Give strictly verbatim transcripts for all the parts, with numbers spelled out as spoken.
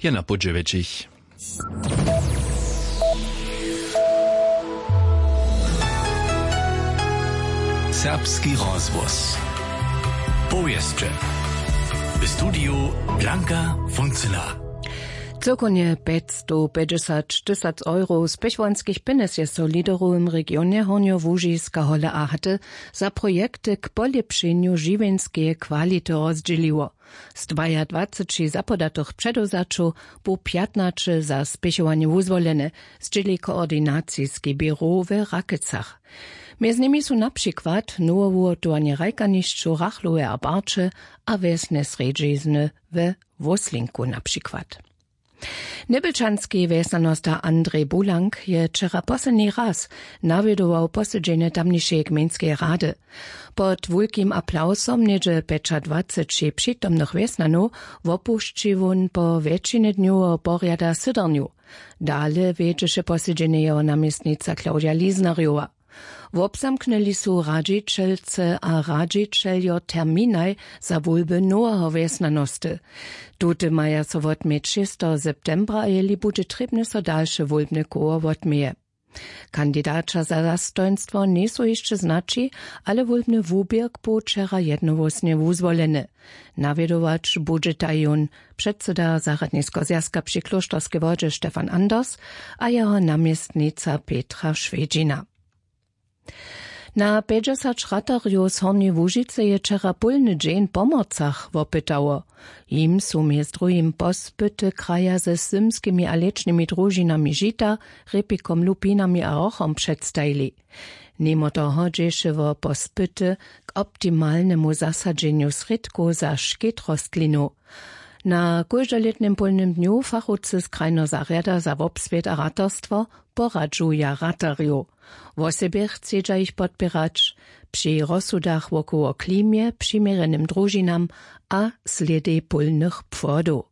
je na pół dźewjećich. Serbski rozhłos. Powěsće. W studiju Blanka Funzela. Cyłkownje pjećstowpjećdźesat tysac euro spěchowanskich pjenjez je so w liderowym regionje Hornjołužiska Hole a Haty za projekty k polěpšenju žiwjenskeje kwality rozdźěliło. Z dwajadwaceći zapodatych předewzaćow bu pjatnaće za spěchowanje wuzwolene, zdźěli koordinaciski běrow w Rakecach. Mjez nimi su na přikład nowe wuhotowanje hrajkanišćow Rachlowe a Barće a wjesne srjedźizny we Wóslinku na přikład. Njebelčanski wjesnjanosta Andrej Bulank je wčera posledni raz nawjedował posedźenje tamnišeje gmejnskeje rady. Pod wulkim aplawsom něhdźe pjećadwaceći přitomnych wjesnjanow wopušći wón po wjetšinje dnjoweho porjada sydrnju. Dale wjedźeše posedźenje jeho namjestnica Claudia Liznarjowa. Wobzamknyli su radźićelce a radźićeljo terminaj za wólby noweho wjesnjanosty. Tute maja so wotměć šesteho septembra a jeli budźe trěbne, so dalše wólbne koło wotměje. Kandidaća za zastojnstwo njejsu hišće znaći, ale wólbny wuběrk bu wčera jednohłósnje wuzwoleny. Nawjedować budźetaj jón předsyda zarjadniskeho zwjazka při klóšterskej wodźe Stefan Anders a jeho namjestnica Petra Šwjedźina. Na pjećdźesać ratarjow z Hornjeje Łužicy je wčera pólny dźeń w Pomorcach wopytało. Jim su mjez druhim pospyty kraja ze zymskimi a lěćnymi družinami žita, rěpikom, lupinami a hrochom předstajili. Nimo toho dźěše wo pospyty k optimalnemu zasadźenju srědkow za škit rostlinow. Na kóždolětnym pólnym dnju fachowcy z krajneho zarjada za wobswět a ratarstwo poradźuja ratarjow. Wosebje chcedźa jich podpěrać při rozsudach wokoło klimje, přiměrjenym družinam a slědej pólnych płodow.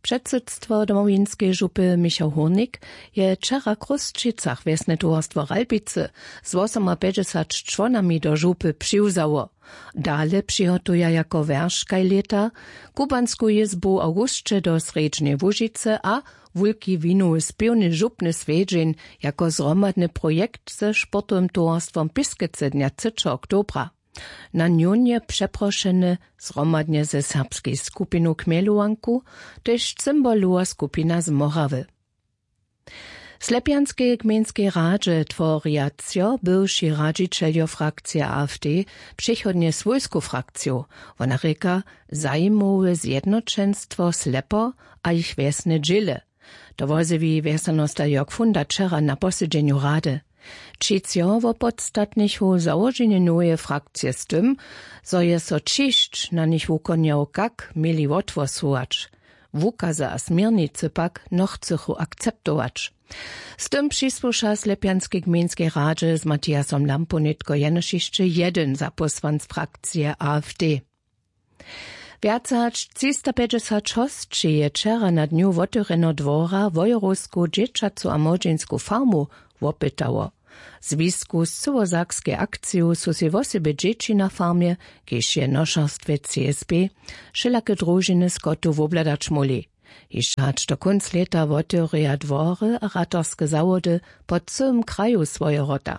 Předsydstwo Domowinskej župy Michał Hórnik je wčera w Chrósćicach wjesne towarstwo Ralbicy z wosomapjećdźesat čłonami do župy přiwzało. Dale přihotuja jako wjerškaj lěta kubansku jězbu w awgusće do Srjedźneje Łužicy a wulki winowy spěwny župny swjedźeń jako zhromadny projekt ze sportowym towarstwom Piskece dnja třećeho oktobra. Na njón je přeprošeny zhromadnje ze serbskej skupinu Chmjelowanku tež cymbalowa skupina z Morawy. W Slepjanskej gmejnskej radźe tworja třo bywši radźićeljo frakcije AfD přechodnje swójsku frakciju. Wona rěka, zajimowe zjednoćenstwo Slepo a jich wjesne dźěle. To wozjewi wjesnjanosta Jörg Funda wčera na posedźenju rady. Tři třo wopodstatnichu załoženje noweje frakcije z tym, zo je so ćišć na nich wukonjał, kak měli wothłosować. Wukazy a směrnicy pak nochcychu akceptować. Z tym přisłuša w Slepjanskej gmejnskej radźe z Matiasom Lampou nětko jenož hišće jedyn zapósłanc frakcije AfD. Wjace hač třistapjećdźesat hosći je wčera na dnju wotewrjeneho dwora wojerowsku dźěćacu a młodźinsku farmu wopytało. W zwisku z cyłosakskej akciju su sej wosebje dźěći na farmje, kiž je w nošerstwje CSB, wšelake družiny skotu wobhladać móhli. Hišće hač do kónc lěta wotewrjeja dwory a ratarske zawody po cyłym kraju swoje wrota.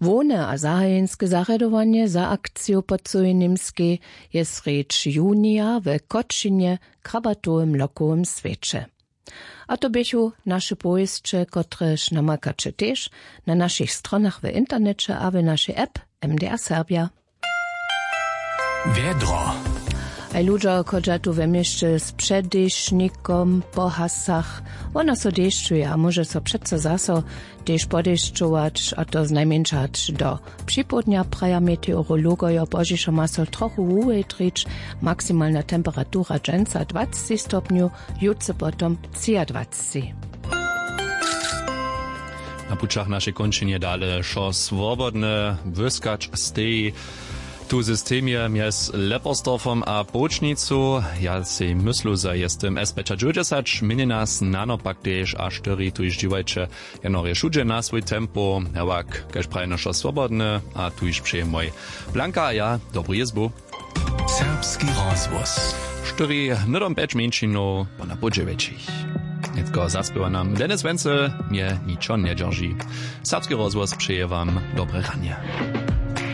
Hłowne a zahajenske zarjadowanje za akciju po cyłej Němskej je srjedź junija w Kotšinje, krabatowym lokowym swěće. A to běchu naše powěsće, kotrež namakaće tež na našich stronach w interneće a w našej app M D R Serbja. Wjedro. Haj, ludźo, chodźa tu we měsće z předešnikom po hasach. Wona so dešćuje a móže so přeco zaso tež podešćować, a to znajmjeńša hač do připołdnja, praja meteorologojo. Pozdźišo ma so trochu wuwjetrić. Maksimalna temperatura dźensa dwacci stopnjow, jutře potom třiadwacci. Na pućach našej kónčinje dale wšo swobodne, wyskać steji. Tu w systemje mjez Leppersdorfom a Połčnicu. Ja sej myslu, zo je z tym S pjećadźewjećdźesać, měni nas nano pak tež a štyri. Tuž dźiwajće jeno wšudźe na swój tempo, hewak, kaž praji, wšo swobodne, a tuž přeje mój Blanka a ja dobru jězbu. Serbski rozhłos. Štyri hnydom pjeć mjeńšinow pona pół dźewjećich. Nětko zaspěwa nam Dennis Wenzel. Mje ničo njedźerži. Serbski rozhłos přeje wam dobre ranje.